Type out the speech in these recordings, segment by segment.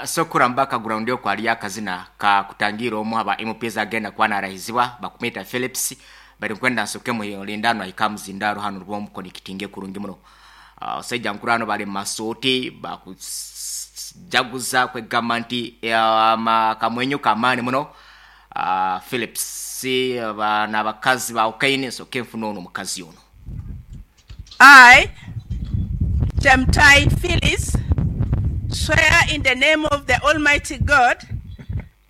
Sokura mu background okwo hariyo akazina ka kutangiira omu aha ba MPs agenda kuba narahizibwa bakumweta Phillips bari nkwenda nsoke muhe hanu ahike aha muzindaaro hanu rwo omukonekitinge kurungi muno. Omusaija nkuru hanu bari mu masuuti bakujaguza kwegamba nti akamwenyo k'amaani muno. Phillips n'abakazi bahukaine nsoke nfune onu omukazi onu. I, Chemtai Phyllis, swear in the name of the Almighty God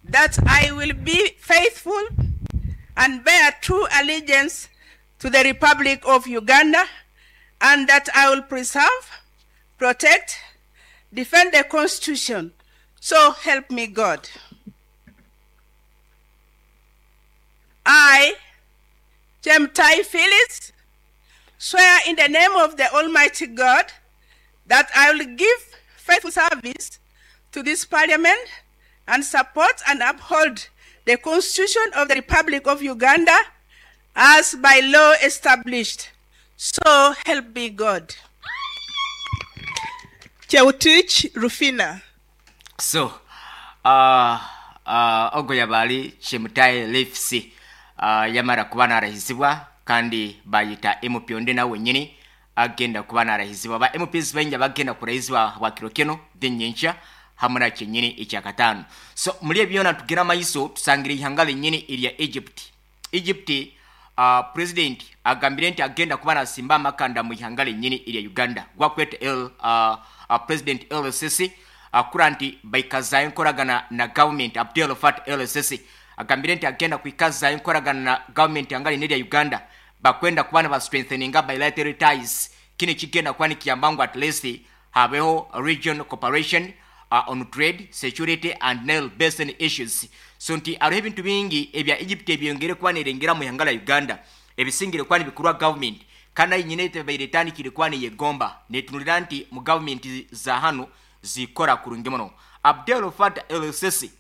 that I will be faithful and bear true allegiance to the Republic of Uganda and that I will preserve, protect, defend the Constitution. So help me God. I, Chemtai Phyllis, swear in the name of the Almighty God that I will give faithful service to this parliament and support and uphold the Constitution of the Republic of Uganda as by law established. So help me God. Cheutich Rufina. So, uh, uh, ogwo yaba ari Chemutai Leafs uh, yamara kuba narahizibwa kandi bayita MP onde nawe wenyini agenda kuba narahizibwa. Ba MPs baingi abagenda kurahizibwa bwa kiro kino then nyenkya hamwe na kyenyini ekyakataano. So muri ebyo byona tugira amaiso tusangire ihanga lenyini erya Egypt. Egypt uh, president agambire nti agenda kuba nasimba amakanda mu ihanga lenyini erya Uganda gwakweta L, uh, uh, president El Sisi akura nti baikazayo enkoragana na government. Abdel Fattah El Sisi agambire nti agenda kwikazayo enkoragana na government ihanga lenyini erya Uganda bakwenda kuba naba strengtheninga bilateral ties. Kino kigenda kuba nikiyamba ngu at least habeho regional cooperation on trade, security and Nile Basin issues. So nti hariho ebintu bingi ebya Egypt ebyongere kuba nerengera mu ihanga lya Uganda ebisingire kuba nibikorwa government kandi ahi nyine ebaire etandikire kuba neyegomba netunulira nti mu government za hanu zikora kurungi muno. Abdel Fattah El Sisi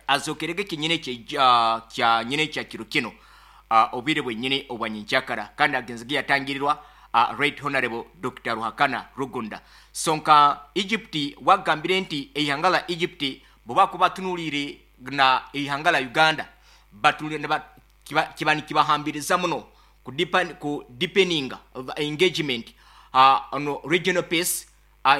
azokerege ekinyine kya nyine kya kiro kino obwire bwenyine obwa nyenkyakara kandi agenzege yatangirirwa Right Honorable Dr. Ruhakana Rugunda. So nka Egypt wagambire nti eihanga la Egypt bwe batunulire na eihanga la Uganda batunulire kiba nikibahambiriza muno ku deepening engagement on regional peace,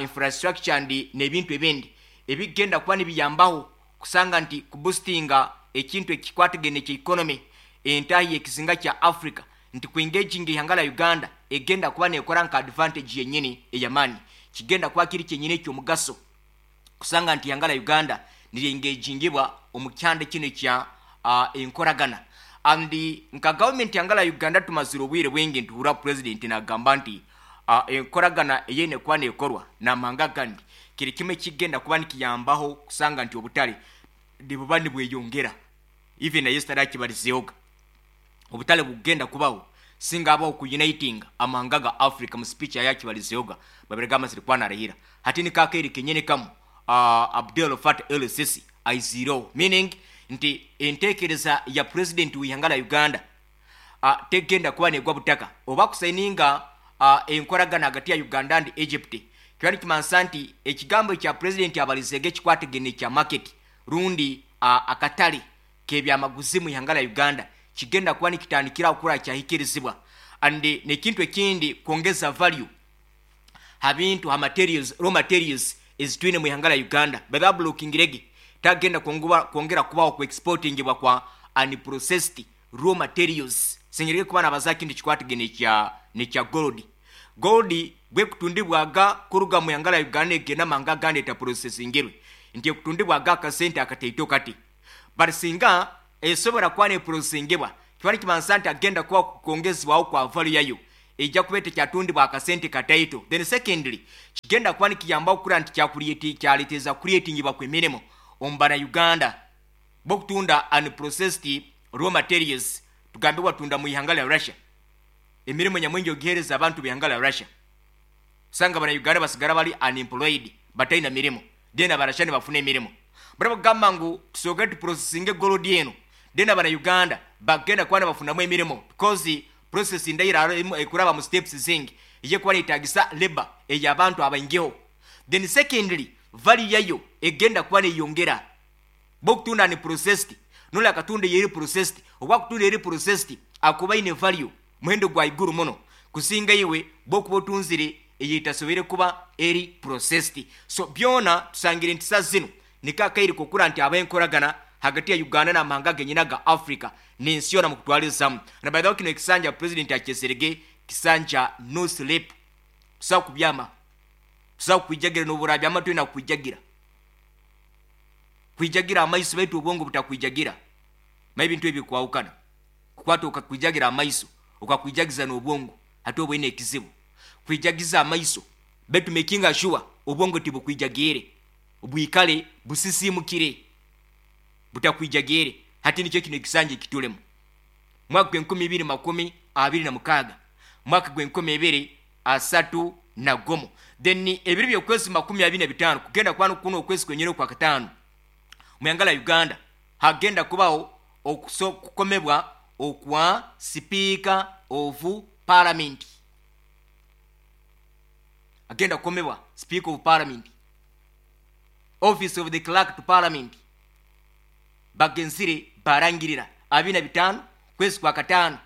infrastructure and n'ebintu ebindi ebigenda kuba nibiyambaho kusanga nti kuboostinga ekintu ekikwatagene kya economy entahi y'ekizinga kya Africa nti ku engaging ihanga la Uganda egenda kuba nekora nka advantage yenyini eyamani kigenda kuba kiri kyenyini ekyomugaso kusanga nti ihanga la Uganda niryengagingibwa omu kyanda kino kya enkoragana. And nka government ihanga la Uganda tumazire obwire bwingi ntuhura president nagamba nti enkoragana eyene kuba nekorwa n'amahanga agandi kiri kimwe kigenda kuba nikiyambaho kusanga nti obutare nibuba nibweyongera. Even na yesterday akibarizehoga obutare bugenda kubaho singa abaho ku uniting amahanga ga Africa mu speech yakibarizehoga babirega amazire kuba narahira hati ni kakeri kenyene kamu Abdel Fattah El Sisi aizireho, meaning nti entekereza ya president w'ihanga la Uganda tegenda kuba negwa butaka oba kusayininga enkoragana hagati ya Uganda and Egypt kiba nikimansa nti ekigambo kya president abalizege ekikwatagene kya market rundi akatale k'ebyamaguzi mu ihanga la Uganda kigenda kuba nikitandikira kukura kyahikirizibwa. And nekintu ekindi kwongeza value ha bintu ha materials, raw materials ezitwine mu ihanga la Uganda bathabulukingirege tagenda kwongera kubaho ku exportingibwa kwa unprocessed raw materials singirege kuba nabaza kintu kikwatagene kya nekya gold. Gold bwe kutundibwaga kuruga mu ihanga la Uganda egenda manga agandi eta processingirwe nti kutundibwaga akasente akateito kati but singa esobora kuba neprocessingibwa kiba nikimansa nti agenda kuba kwongezebwaho kwa value yayo ejja kuba tekyatundibwa akasente kataito. Then secondly kigenda kuba nikiyamba okukura nti kyareteza creatingibwa kw'emirimo omu bana Uganda bokutunda unprocessed raw materials tugambe watunda mu ihanga lya Russia emirimo nyamwingi ogihereza abantu b'ihanga lya Russia sanga bana Uganda basigara bali unemployed bataina mirimo then abarasha nibafuna emirimo barabagamba ngu tusoke tuprocessinge gold eno then abana Uganda bagenda kuba nibafunamu emirimo because process ndayira ekuraba mu steps zingi ije kuba netagisa labor ey'abantu abaingiho. Then secondly value yayo egenda kuba neyongera. Bwokutunda unprocessed noli akatunda eyeri processed, obwakutunda eri processed akuba aine value, muhendo gwa iguru muno kusinga iwe bwokuba otunzire eyetasobire kuba eri processed. So byona tusangire nti sa zinu niko akaire kokura nti habaho enkoragana hagati ya Uganda n'amahanga genyini aga Africa n'ensi yoona mukutwarizamu. Na by the way kinu ekisanja president akyesirege kisanja no sleep, tosobola kubyama, tosobola kukwijagira n'obu orabyama toine kukwijagira. Kwijagira amaiso baitu obwongo butakwijagira. Manya ebintu ebi bikwahukana. Kukwata okakwijagira amaiso okakwijagiza n'obwongo hati oba oine ekizibu. Kwijagiza amaiso baitu making sure obwongo tibukwijagiire, bwikale busisimukire butakwijagiire. Hati nikyo kinu ekisanja ekitulemu. Mwaka gw'enkumi ibiri 26, mwaka gw'enkumi ibiri asatu na gumu. Then ebiro by'okwezi 25 kugenda kuba kuno okwezi kwenyini okwa kataano mu ihanga lya Uganda hagenda kubaho okukomebwa okwa Speaker of Parliament. Agenda kukomebwa Speaker of Parliament. Office of the Clerk to Parliament bagenzire barangirira 25 kwezi kwa kataano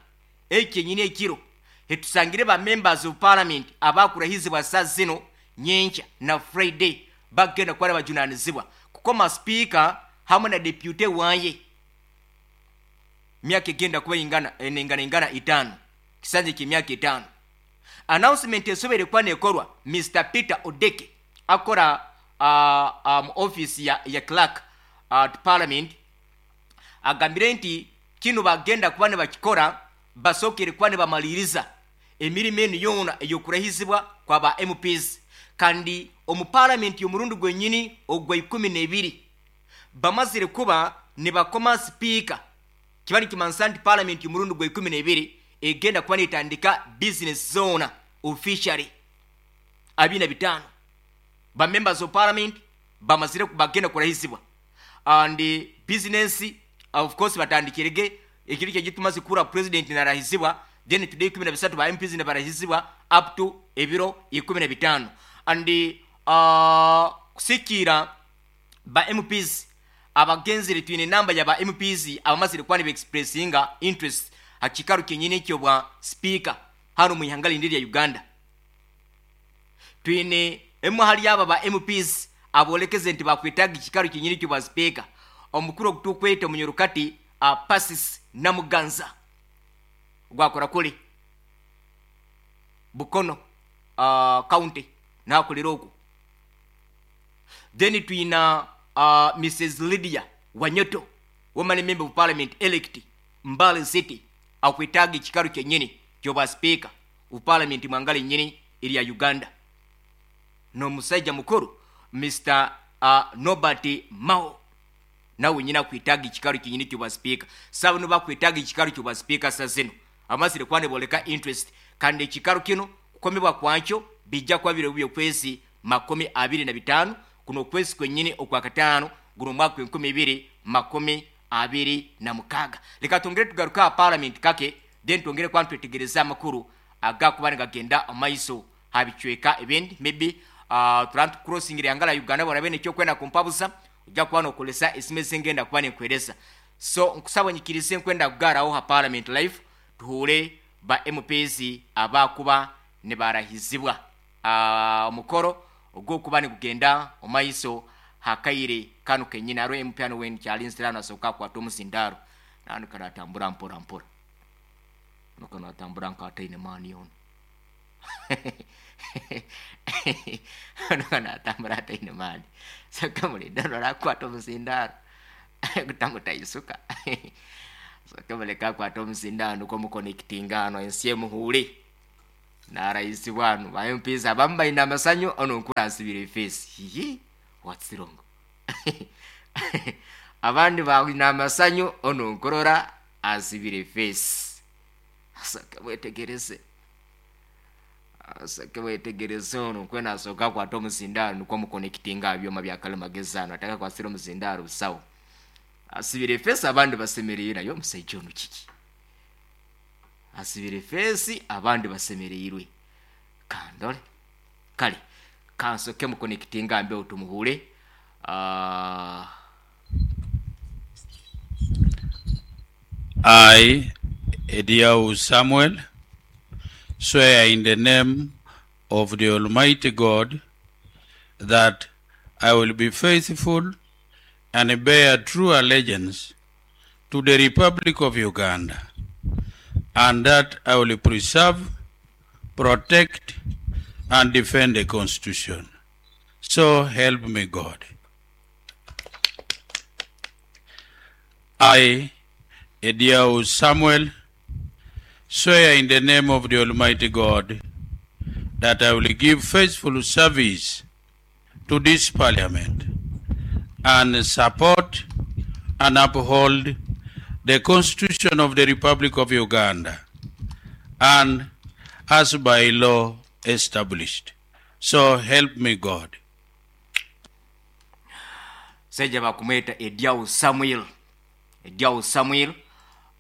eki kyenyini ekiro hetusangire ba members of parliament abakurahizibwa saa zino nyenkya na Friday bagenda kuba nibajunanizibwa kukoma speaker hamwe na deputy waye myaka egenda kuba ingana nengana ingana itaano kisanja ky'emyaka etaano. Announcement esoboire kuba nekorwa Mister Peter Odeke akora mu office ya clerk to parliament agambire nti kinu bagenda kuba nibakikora basookere kuba nibamaliriza emirimo enu yoona ey'okurahizibwa kwa ba MPs kandi omu parliament y'omurundi gwenyini ogwa 12 bamazire kuba nibakoma speaker kiba nikimanisa nti parliament y'omurundi gwa 12 egenda kuba netandika business zoona officially 25 ba members of parliament bamazire bagenda kurahizibwa and business of course batandikirege ekiro kyegi tumaze kuhurra president narahizibwa, then today 13 ba MPs nibarahizibwa up to ebiro 15 and kusikiira ba MPs abagenzire twine namba ya ba MPs abamazire kuba niba expressinga interest ha kikaro kyenyini ekyobwa speaker hanu omu ihanga rindi erya Uganda. Twine emwe ahari aba ba MPs abolekeze nti bakwetaaga ekikaro kyenyini ekyobwa speaker omukuru ogu tukweta omunyorokati Persis Namuganza gwakora kuri Bukono county nakorera okwo. Then twina Mrs Lydia Wanyoto woman member of parliament elect Mbale City akwetaaga ekikaro kyenyini kyobwa speaker of parliament mwanga rinyini erya Uganda. N'omusaija mukuru Mister Norbert Mao nawe nyine akwetaaga ekikaro kyenyini kyobwa speaker. Saaba nibo bakwetaaga ekikaro kyobwa speaker sa zinu abamazire kuba niboleka interest kandi ekikaro kinu kukomebwa kwakyo bijja kuba biro by'okwezi 25 kuno okwezi kwenyini okwa kataano guno omwaka gw'enkumi ibiri 26. Leka twongere tugaruke aha parliament kake then twongere kuba nitwetegereza amakuru agakuba nigagenda omu maiso aha bicweka ebindi maybe turaba nitukurosingira ihanga rya Uganda bw'oraabe haine eki orikwenda kumpabuza ojja kuba nookoresa esimu ezi ngenda kuba ninkuheereza. So nkusaba onyikirize nkwenda kugaaraho aha parliament live tuhuure ba MPs abakuba nibarahizibwa omukoro ogw'okuba nigugenda omu maiso hakaire kanu kenyini. Hariho MP hanu weena kyarinzire hanu asoboka akwata omuzindaaro nanu karatambura mpora mpora. Nuka natambura nk'ataine maani yoona. Nuka natambura ataine maani. Soka mulinde hanu arakwata omuzindaaro gutamutaisuka. Soka muleke akwate omuzindaaro nukwo mukonekitinga hanu ensi emuhuure. Narahizibwa hanu ba MPs abamu baine amasanyu onu nkuru asibire face. Hihi what's wrong? Abandi baine amasanyu onu nkurora asibire face. Soka mwetegereze. Soka mwetegereze onu nkwe nasoka akwate omuzindaaro nukwo mukonekitinga aha byoma bya karimagezi hanu atakakwasire omuzindaaro busaho. Asibire face abandi basemereire naye omusaija onu kiki? Asibire face abandi basemereirwe. Kandore. Kare. Kansoke mukonekitinga mbeho tumuhure. I, Ediau Samuel, swear in the name of the Almighty God that I will be faithful and bear true allegiance to the Republic of Uganda, and that I will preserve, protect, and defend the Constitution. So help me God. I, Ediau Samuel, swear in the name of the Almighty God that I will give faithful service to this parliament and support and uphold the Constitution of the Republic of Uganda and as by law established. So help me God. Omusaija bakumweta Ediau Samuel. Ediau Samuel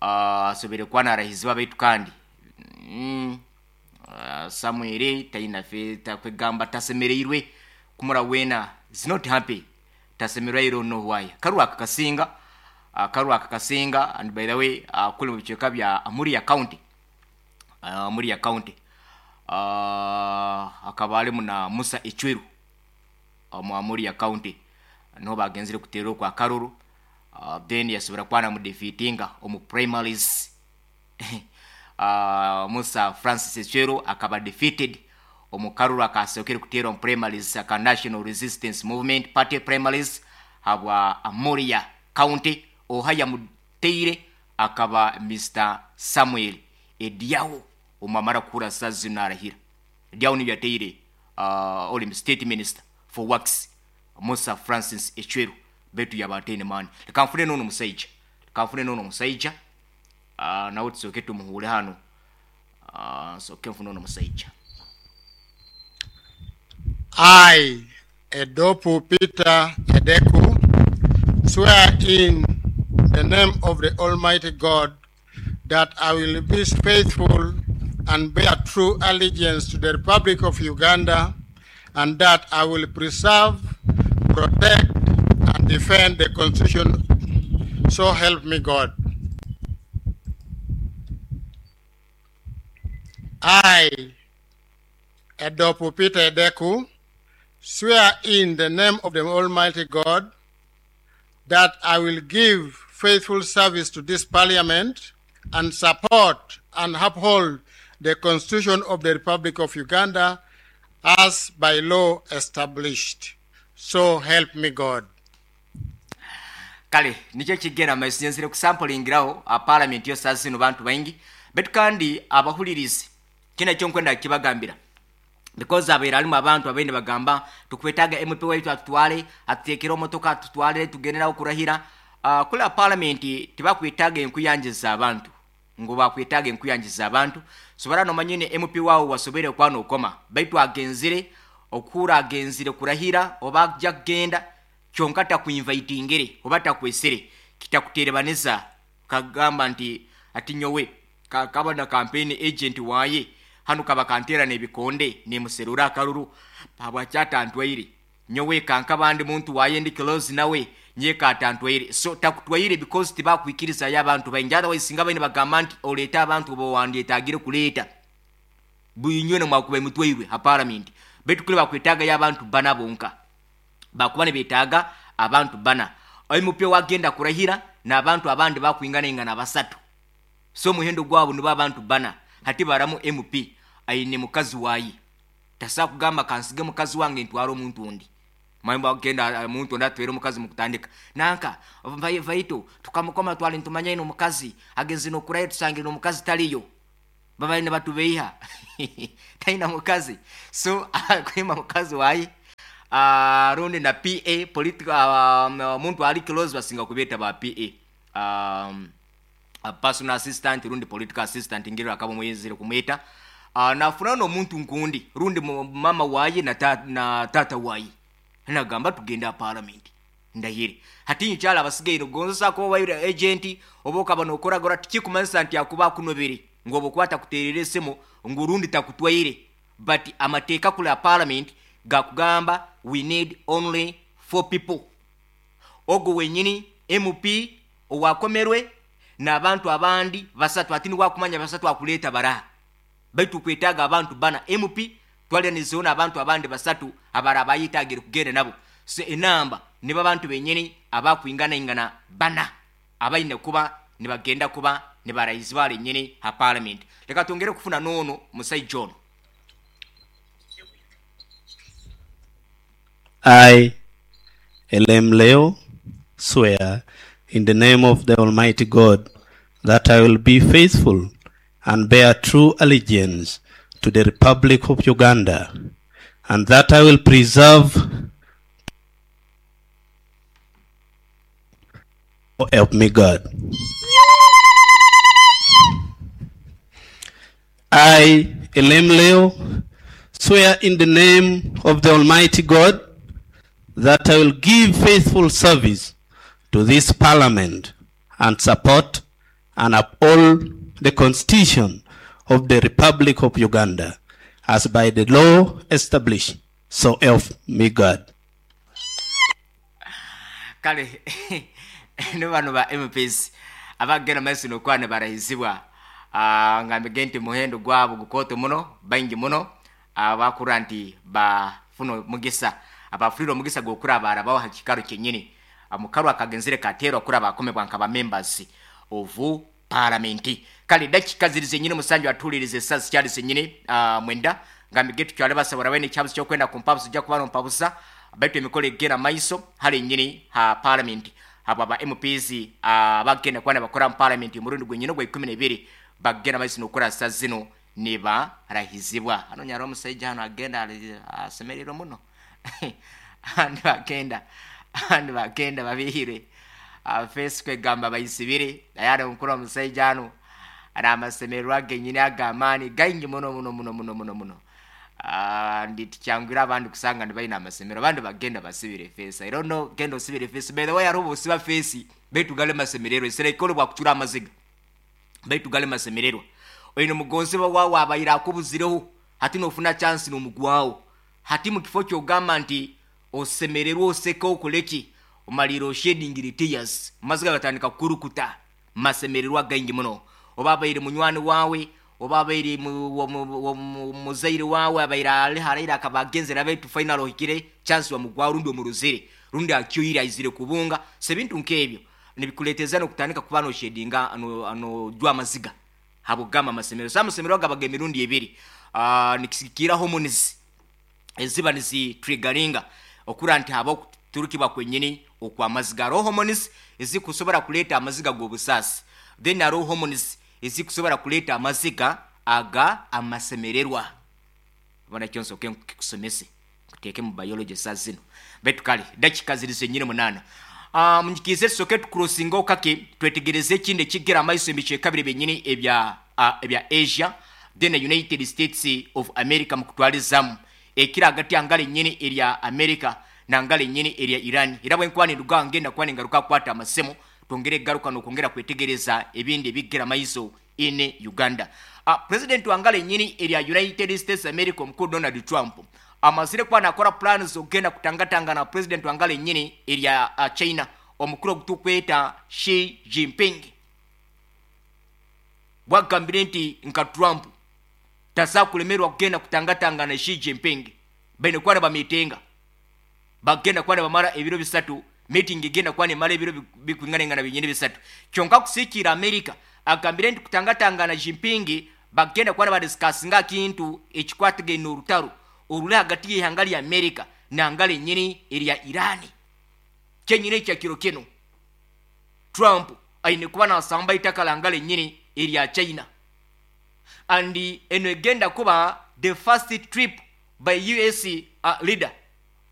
asoboire kuba narahizibwa baitu kandi Samuel taina kwegamba tasemereirwe kumura weena is not happy tasemererwa I don't know why. Akaruru aka kasinga akaruru aka kasinga and by the way kuri omu bicweka bya Amuria county Amuria county akaba arimu na Musa Ecweru omu Amuria county niho bagenzire kuteera okwo akaruru then yasobora kuba namudefitinga omu primaries Musa Francis Ecweru akaba defeated omu karuru akasookere kuteerwa omu primaries aka National Resistance Movement party primaries habwa Amuria county oha yamuteire akaba Mister Samuel Ediawo omwamara kuhurira saaha zinu narahira. Ediawo niwe yateire ori state minister for works Musa Francis Ecweru beitu yaaba ataine maani. Reka nfune n'onu omusaija, reka nfune n'onu omusaija nawe tusooke tumuhuure hanu, nsooke nfune onu omusaija. I, Edopu Peter Edeku, swear in the name of the Almighty God that I will be faithful and bear true allegiance to the Republic of Uganda, and that I will preserve, protect, and defend the Constitution. So help me God. I, Edopu Peter Edeku, swear in the name of the Almighty God that I will give faithful service to this parliament and support and uphold the Constitution of the Republic of Uganda as by law established. So help me God. Kale nikyo ekigenda omu maiso nyenzire kusampolingiraho aha paramenti yo saaha zinu bantu baingi beitu kandi abahuririzi kinu ekyo nkwenda kukibagambira because habaire harimu abantu ababaire nibagamba tukwetaaga MP waitu atutware atuteekere omu motoka atutwarire tugende nawe kurahira. Kuri aha paramenti tibakwetaaga enkuyanja z'abantu ngu bakwetaaga enkuyanja z'abantu sobora nomanya oine MP waawe wasoboire kuba nokoma beitu agenzire okuhurra agenzire kurahira oba aja kugenda kyonka takuinvitingire oba takwesire kitakuterebaniza kagamba nti ati nyowe kaba na campaign agent waye hanu kaba kanteera n'ebikonde nimuserura akaruru habwaki atantwaire nyowe kankaba ndi muntu waye ndi close nawe nyewe atantwaire so takutwaire because tibakwikirizayo abantu baingi otherwise singa baine bagamba nti oleete abantu bowandyetagire kureeta bwinywena mwakubaire mutwairwe ha parliament beitu kuri bakwetagayo abantu bana bonka bakuba nibetaaga abantu bana MP owagenda kurahira n'abantu abandi bakwinganaingana basatu so omuhendo gwabo nibo abantu bana hati baramu MP aine mukazi waye tasobola kugamba kansige mukazi wange ntware omuntu ondi manya bagenda omuntu ondi atwire omukazi mukutandika nanka vaito tukamukoma twali nitumanya aine omukazi agenzire nokurahira tusangire omukazi tariyo babaire nibatubeiha taine mukazi so akwima mukazi waye rundi na PA political omuntu ari close basinga kubeeta ba PA personal assistant rundi political assistant ngeri akaba omuyenzire kumweta nafuna n'omuntu nkundi rundi mama waye na, ta, na tata waye nagamba tugende aha parliament ndahire. Hati nkyala abasigaire gonza kuba waire agent oba okaba nokoragora tikikumanyisa nti akuba akunobere ngu oba okuba takuterera esimu ngu rundi takutwaire but amateeka kuri aha parliament. gakugamba we need only 4 people. Ogwo wenyini MP owakomerwe n'abantu abandi basatu hati niwakumanya basatu akuleeta baraha baitu tukwetaaga abantu bana MP twaliranizeho n'abantu abandi basatu abaraba bayetagire kugenda nabo. So enamba nibo abantu benyini abakwinganaingana bana abaine kuba nibagenda kuba nibarahizibwa lenyini ha parliament. Leka twongere kufuna n'ono musaija ono. I, Elem Leo, swear in the name of the Almighty God that I will be faithful and bear true allegiance to the Republic of Uganda, and that I will preserve, oh, help me God. I, Elem Leo, swear in the name of the Almighty God that I will give faithful service to this parliament and support and uphold the Constitution of the Republic of Uganda as by the law established. So help me God. Kale ne bano ba MPs abagenda maiso n'okuba nibarahizibwa ngambege nti muhendo gwabo gukooto muno baingi muno abakura nti bafuna omugisa abafurire omugisa gw'okuraba arabaho ha kikaro kyenyini. Mukaru akagenzere kateerwa kuraba akomebwa nka ba members of parliament. Kale dakika ziri zenyini musanju atuuliriza essaawa zikyali zenyini 9 ngambege tukyale basabura bene ekyabuzi ky'okwenda ku mpabuzi ojja kuba nompabuza baitu emikolo egenda maiso hali nyini ha parliament. Abo aba MPs abagenda kuba nibakora mu parliament omurundi gwenyini ogwa 12 bagenda maiso n'okukora saa zino nibarahizibwa. Hano nyaro omusaija hano agenda asemererwa muno. Andi bagenda andi bagenda babihire face kwegamba bayisibire naye omukuru omusaija hano n'amasemererwa genyini ag'amaani gaingi muno muno muno muno muno muno. Ndi tikyangwire abandi kusanga nibaine amasemero abandi bagenda basibire face. I don't know, genda osibire face. By the way, hariho osiba face baitu gale masemererwa eserekole bwakucura amaziga baitu gale masemererwa. Oine mugonzibwa wawe abaire akubuzireho hati nofuna chance n'omugwawo hati mu kifo kyogamba nti osemererwa oseka okoleki omalire oshedingire tears amaziga gatandika kukurukuta masemererwa gaingi muno. Oba abaire munywani wawe oba abaire muzaire wawe abaire ali haraire akaba agenzere abaitu final ohikire chance wamugwawo rundi omuruzire rundi akyoire aizire kubunga. So ebintu nk'ebyo nibikuleeteza n'okutandika kuba noshedinga anojwa amaziga habugamba amasemero. So amasemero gabaga emirundi ebiri nikisikira hormones eziba nizitriggeringa okura nti haba okuturukibwa kwenyini okw'amaziga. Hariho hormones ezikusobora kuleeta amaziga g'obusaasi, then hariho hormones ezikusobora kuleeta amaziga aga amasemererwa. Bona kyo nsooke nkikusomese nkuteeke mu biology saa zino. Baitu kale dakika ziri zenyini 8. Munyikize tusooke tukurosinga okake twetegereze ekindi ekigera amaiso ebicweka biri byenyini ebya Asia then United States of America mukutwalizamu ekiri hagati ya ngalo enyini erya America na ngalo enyini erya Iran. Era bwe nkuba ninduga ngenda kuba ningaruka kukwata amasemo twongere garuka n'okwongera kwetegereza ebindi ebigera amaiso in Uganda. President wa ngalo enyini erya United States America omukuru Donald Trump amazire kuba nakora plans okugenda kutangatangana na president wa ngalo enyini erya China omukuru ogutukweta Xi Jinping. Bwagambire nti nka Trump tasa kulemerwa kugenda kutangatangana Xi Jinping baine kuba nibamitenga bagenda kuba nibamara ebiro 3 meeting egenda kuba nemara ebiro bikwinganengana binyini 3. Kyonka kusiikira America agambire nti kutangatangana Jinping bagenda kuba nibadiscussinga kintu ekikwatagaine orutaro oruri hagati y'eihanga rya America nangalo enyini erya Iran. Kyenyini ekyakiro kino Trump aine kuba nasamba itaka langalo enyini erya China. And eno egenda kuba the first trip by US leader